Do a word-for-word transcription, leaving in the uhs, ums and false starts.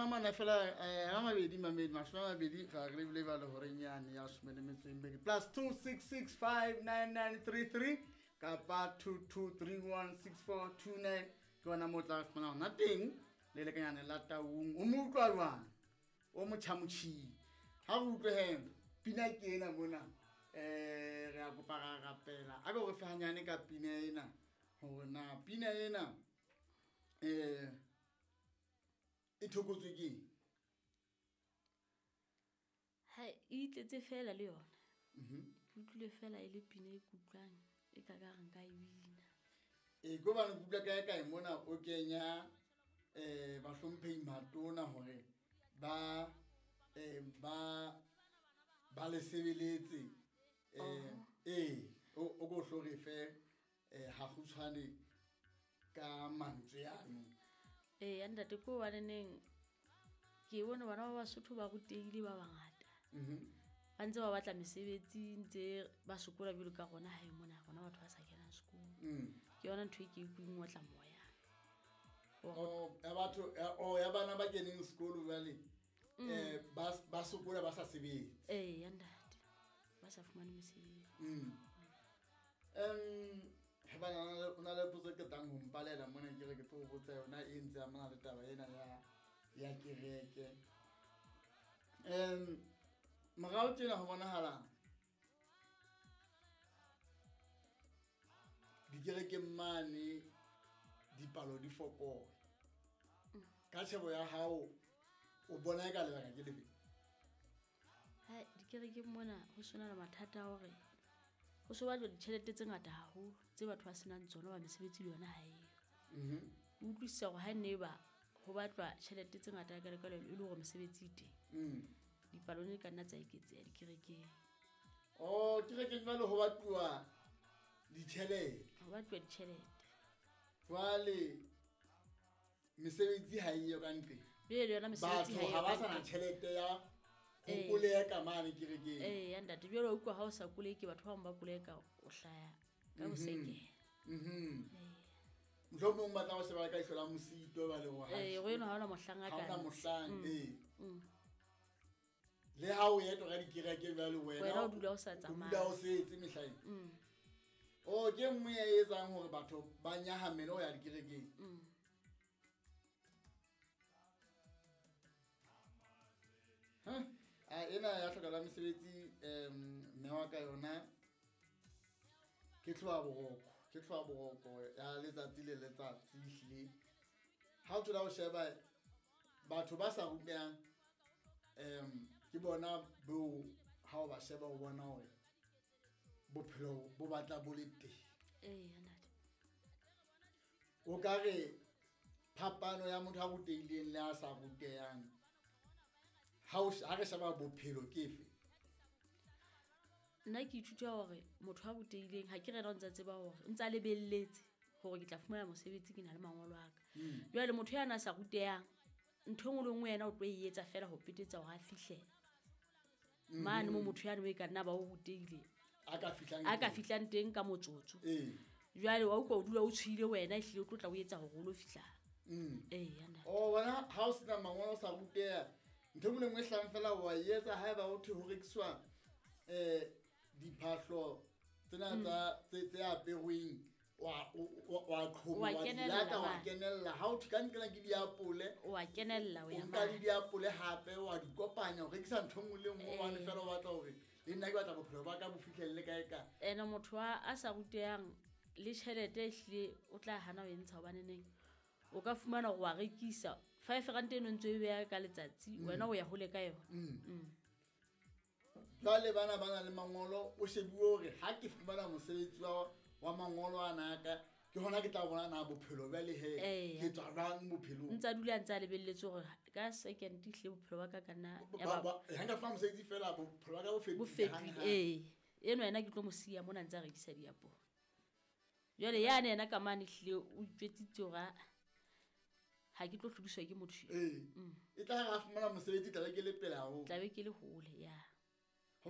mashome a mane fela um a mabedi mamedi mashome a mabedi ga re lebile bale horeng yane ya some le metso e mmedi plus two six six five nine nine three three kapa two two three one six four two nine ke ona mo o tla fumana hona teng le lekanyane la Taung o mo utlwa jwang o motjhamotjhii ha re utlwe he pina ke ena mona um re a kopa ra rapela a ke re fe hanyane ka pina ena hore na pina ena um e thokotswe ke eng? Ha e itletse fela le yona. Mhm. Ke utlwile fela e le pina e kutlwang e ka ka re nka e bina. E ko bane ke utlwa kae kae mona o kenya um bahlomphehi matona hore ba um ba ba le sebeletse um ee o o ko hlo re fe um ha kgutshwane ka mantswe ano. Ee, ntate ko hobaneneng ke bone bana ba Basotho ba rutehile ba bangata. Mhm. Ba ntse ba batla mesebetsi ntse ba sokola jwalo ka rona hae mona rona batho ba sa kenang sekolo. Mm. Ke yona ntho e ke e utlwileng otla moya. Oh, ya batho ya oh ya bana ba keneng sekolo jwale eh ba ba sokola ba sa sebetse. Ee, ya ntate. Ba sa fumane mesebetsi. Mm. Um he bana o na le potso e qetang ho mpalela mona ke re ke tlo o botsa yona e ntse amana le taba ena ya ya kereke. Um morao tjena ho bonahala dikerekeng mane dipalo di fokola. Ka tjhebo ya hao o bona e ka lebaka ke lefe? Ha dikerekeng mona ho sona le mathata a hore ho so batlwa ditjhelete tse ngata haholo tse batho ba senang tsona ba mesebetsi le yona ha eyo. Mhm. O utlwisisa hore ha ne ba ho batlwa tjhelete tse ngata ka lekalo e le hore mesebetsi e teng. Mm. Dipalo ne ka nna tsa eketseha dikerekeng. Oh, kerekeng jwale ho batluwa ditjhelete. Ho batluwa ditjhelete. Jwale mesebetsi ha eyo ka ntle. Jwale le yona mesebetsi Batho ha eyo ha ba ka sa na ntle. tjhelete ya ho Ee. koleka mane kerekeng. Ee, ya ntate, jwale wa utlwa ha o sa koleke batho ba bang ba koleka o hlaya ka bosekela. Mhm. Ee. Mohlomong ba tla o sheba ka ihlo la mosito ba le hore ha Ee, go eno ha hona mohlang a ha ka hona ntsha. mohlang, Mm. ee. Mm. Le ha o etwa ka dikereke jwale wena Wena o dula o sa o tsamaye. dula o setse mehlaeng. Mm. Oh, ke e nngwe ya e etsang hore batho ba nyahamele ho ya dikerekeng. Mm. Ha? A ena ya hloka la mesebetsi um mme wa ka yona ke tloha boroko, ke tloha boroko ya letsatsi le letsatsi ehlile. Ha o thola o sheba batho ba sa rutehang um ke bona beo ha o ba sheba o bona hore bophelo bo batla bo le teng. Ee, ya ntate. O ka re phapano ya motho a rutehileng le a sa rutehang ha o ha re sheba bophelo ke efe? Nna ke ithuta hore motho a rutehileng ha ke re yena o ntsa tseba hore o ntsa lebelletse hore ke tla fumana mosebetsi ke na le mangolo a ka. Mm. Jwale motho ya na sa rutehang ntho e nngwe le nngwe yena o tlo e etsa fela ho petetsa hore a fihle. Mane mo motho yane o e ka nna ba o rutehile. A ka fihlang A ka teng. fihlang teng ka motsotso. Ee. Jwale wa utlwa o dula o tshohile wena ehlile o tlo tla o etsa hore o lo fihla. Mm. Ee, ya ntate. Oh, wena ha o sena mangolo o sa ruteha, ntho e nngwe le nngwe e hlahang fela wa e etsa haeba ho thwe ho rekiswa eh diphahlo tsena Mm. tsa tse tse aperweng wa o wa Wa qhoma wa di kenella lata wa mane. kenella ha o thwe ka nqena ke diapole Wa kenella o ya o nka le mane. diapole hape wa di kopanya o rekisa ntho e nngwe le nngwe hobane Ee. fela o batla hore le nna ke batla bophelo ba ka bo fihlelle kae kae. Ene motho a a sa rutehang le tjhelete ehlile o tla hana ho e ntsha hobaneneng o ka fumana hore wa rekisa five rand eno ntse o e beha ka letsatsi Mm. wena o ya hole ka yona. Mm. Mm. Jwale bana ba na le mangolo o shebuwe hore ha ke fumana mosebetsi wa wa mangolo ana a ka ke hona ke tla bona na bophelo jwale he Ee. ke tswa jwang bophelong. Ntsa dula ntsa lebelletse hore ka second ehlile bophelo ba ka ka nna Ba- ya ba ba- ha nka fumana mosebetsi fela bophelo ba ka bo bo fetohile fetohile. hanghang. Ee, eno yena ke tlo mo siya mona ntse a rekisa diapole. Jwale yane yena ka mane ehlile o itjwetsitse hore ha ha ke tlo hlodiswa ke motho eo. Ee. Mm. E tla re ha fumana mosebetsi tla be ke le pele haholo. Tla be ke le hole, ya.